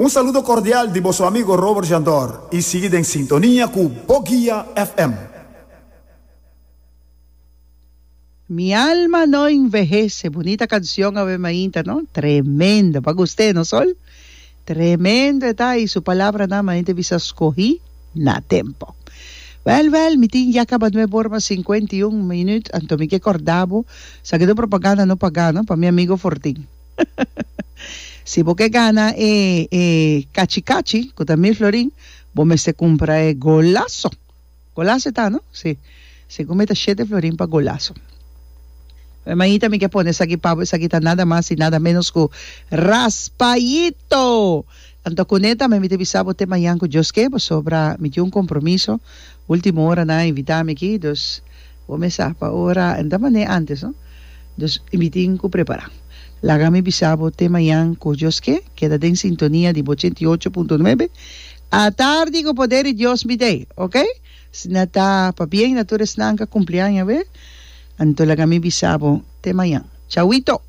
Un saludo cordial di boso amigo Robert Jandor y sigui den sintonia cu Boguia FM. Mi alma no envejece, bunita cancion awe mainta no, tremendo, pa gust'e no Sol? Tremendo e ta y su palabranan mainta bisa scogi na tempo. Wel wel mi tin ya caba nuebe ora mas 51 minuut anto mi ke corda bo sa ke ta propaganda no paga no pa mi amigo Fortin. Si bo ke gana e e cachi cachi cu ta mil florin bo mester cumpra e golazo. Golazo e ta, no? Si. Segun mi ta shete florin pa golazo. Mi maita mi ke pone esaki pa bo, esaki ta nada mas y nada menos ku Raspayito! Anto kuné tambe mi ta bisa bo te mañan ku Dios ke, pasobra mi tin un kompromiso, ultimo ora nan a invita mi aki, dus bo me sa pa ora, no ta manera antes no, dus mi tin ku prepara. Laga mi bisa bo te mañan ku Dios ke, keda den sintonia di bo 88.9. Atardi ku poder di Dios mi dei, ok? Si na ta pabien na tur esnan ka kumpli aña awe, anto laga mi bisa bo te mañan. Chawito!